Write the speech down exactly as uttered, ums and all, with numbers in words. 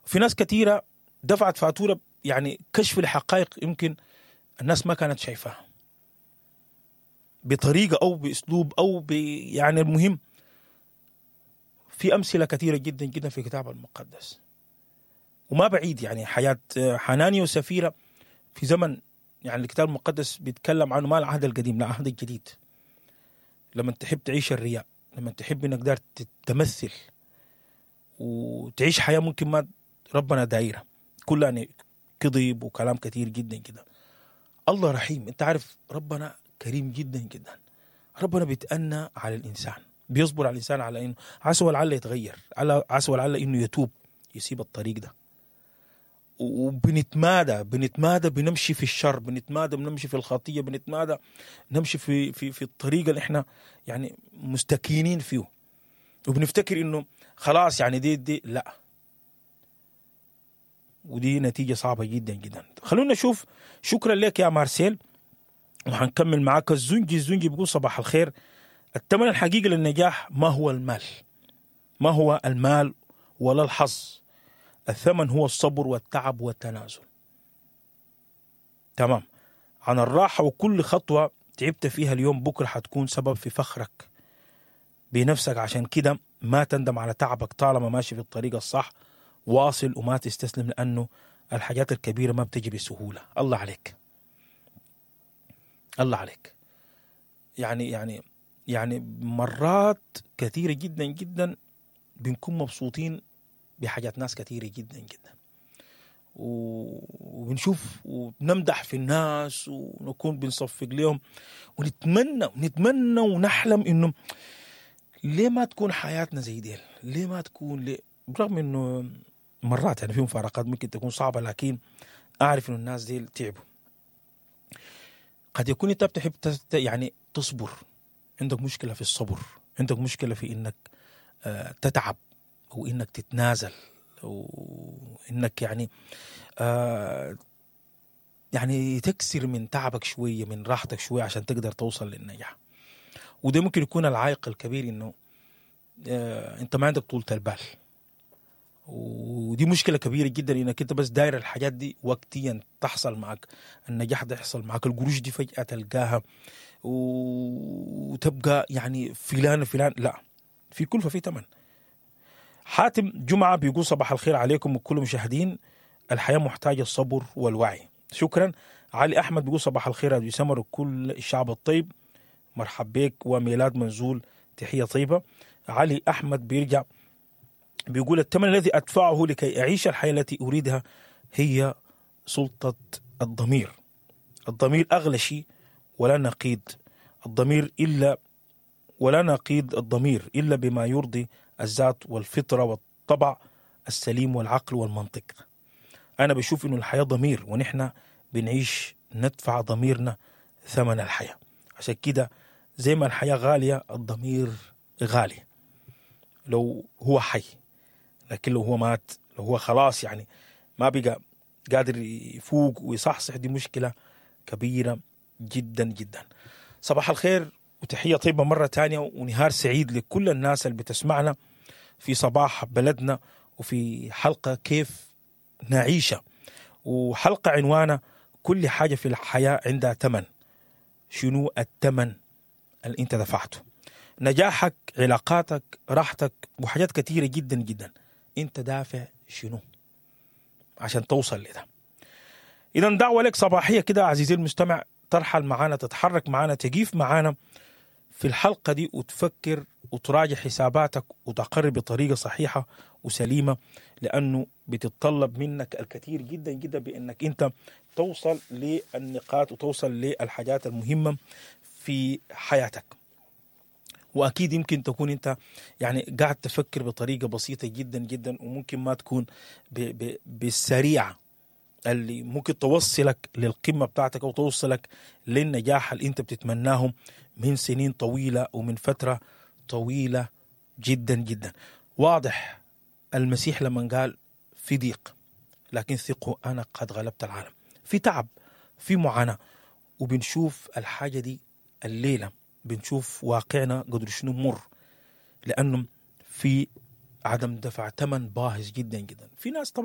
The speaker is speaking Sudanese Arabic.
في ناس كثيرة دفعت فاتورة يعني كشف الحقائق يمكن الناس ما كانت شايفاها بطريقة او باسلوب او ب يعني المهم في امثلة كثيرة جدا جدا في الكتاب المقدس. وما بعيد يعني حياة حنانيا وسفيره في زمن يعني الكتاب المقدس بيتكلم عنه ما العهد القديم، لا العهد الجديد. لما تحب تعيش الرياء، لما تحب انك دار تمثل وتعيش حياة ممكن ما ربنا دايرة كلها يعني كذب وكلام كثير جدا جدا. الله رحيم، انت عارف ربنا كريم جدا جدا. ربنا بيتأنى على الانسان، بيصبر على الانسان على انه عسى ولعل يتغير، على عسى ولعل انه يتوب يسيب الطريق ده. وبنتمادى بنتمادى بنمشي في الشر، بنتمادى بنمشي في الخطية، بنتمادى نمشي في في في الطريق اللي احنا يعني مستكينين فيه، وبنفتكر انه خلاص يعني دي دي لا، ودي نتيجة صعبة جدا جدا. خلونا نشوف. شكرا لك يا مارسيل، وحنكمل معاك. الزنجي الزنجي بيقول صباح الخير، الثمن الحقيقي للنجاح ما هو المال، ما هو المال ولا الحظ، الثمن هو الصبر والتعب والتنازل. تمام، عن الراحة، وكل خطوة تعبت فيها اليوم بكرة حتكون سبب في فخرك بنفسك. عشان كده ما تندم على تعبك طالما ماشي في الطريق الصح، واصل وما تستسلم، لأنه الحاجات الكبيرة ما بتجي بسهولة. الله عليك، الله عليك. يعني يعني يعني مرات كثيرة جدا جدا بنكون مبسوطين بحاجات ناس كثيرة جدا جدا، وبنشوف وبنمدح في الناس ونكون بنصفق لهم، ونتمنى ونتمنى ونحلم انه ليه ما تكون حياتنا زي ديل، ليه ما تكون، ليه؟ برغم انه مرات يعني في مفارقات ممكن تكون صعبة، لكن اعرف انه الناس ديل تعبوا. قد يكون انت بتحب يعني تصبر، عندك مشكلة في الصبر، عندك مشكلة في انك تتعب او انك تتنازل، او انك يعني آه يعني تكسر من تعبك شوية، من راحتك شوية، عشان تقدر توصل للنجاح. وده ممكن يكون العائق الكبير، انه آه انت ما عندك طولة البال، ودي مشكلة كبيرة جدا، انك انت بس داير الحاجات دي وقتيا تحصل معك، النجاح ده يحصل معك، القروش دي فجاة تلقاها وتبقى يعني فلان فلان. لا، في كلفه، في ثمن. حاتم جمعة بيقول صباح الخير عليكم وكل المشاهدين، الحياة محتاجة الصبر والوعي. شكرا. علي أحمد بيقول صباح الخير أبو سمر وكل الشعب الطيب، مرحب بك. وميلاد منزول تحية طيبة. علي أحمد بيرجع بيقول الثمن الذي أدفعه لكي أعيش الحياة التي أريدها هي سلطة الضمير. الضمير أغلى شيء، ولا نقيد الضمير إلا ولا نقيد الضمير إلا بما يرضي الذات والفطرة والطبع السليم والعقل والمنطق. أنا بشوف إنه الحياة ضمير، ونحن بنعيش ندفع ضميرنا ثمن الحياة. عشان كده زي ما الحياة غالية، الضمير غالي لو هو حي، لكن لو هو مات، لو هو خلاص يعني ما بقى قادر يفوق ويصحصح، دي مشكلة كبيرة جدا جدا. صباح الخير وتحية طيبة مرة تانية، ونهار سعيد لكل الناس اللي بتسمعنا في صباح بلدنا، وفي حلقة كيف نعيشها، وحلقة عنوانها كل حاجة في الحياة عندها ثمن. شنو الثمن اللي انت دفعته؟ نجاحك، علاقاتك، راحتك، وحاجات كثيرة جدا جدا، انت دافع شنو عشان توصل لده؟ إذا دعوة لك صباحية كده عزيزي المستمع، ترحل معانا، تتحرك معانا، تقيف معانا في الحلقة دي، وتفكر وتراجع حساباتك وتقرر بطريقة صحيحة وسليمة، لأنه بتتطلب منك الكثير جدا جدا بأنك أنت توصل للنقاط وتوصل للحاجات المهمة في حياتك. وأكيد يمكن تكون أنت يعني قاعد تفكر بطريقة بسيطة جدا جدا، وممكن ما تكون بالسريعة اللي ممكن توصلك للقمة بتاعتك أو توصلك للنجاح اللي أنت بتتمناه من سنين طويلة ومن فترة طويلة جدا جدا. واضح المسيح لما قال في ضيق، لكن ثقوا أنا قد غلبت العالم. في تعب، في معاناة، وبنشوف الحاجة دي الليلة، بنشوف واقعنا قدر شنو مر، لأنه في عدم دفع ثمن باهظ جدا جدا. في ناس طبعا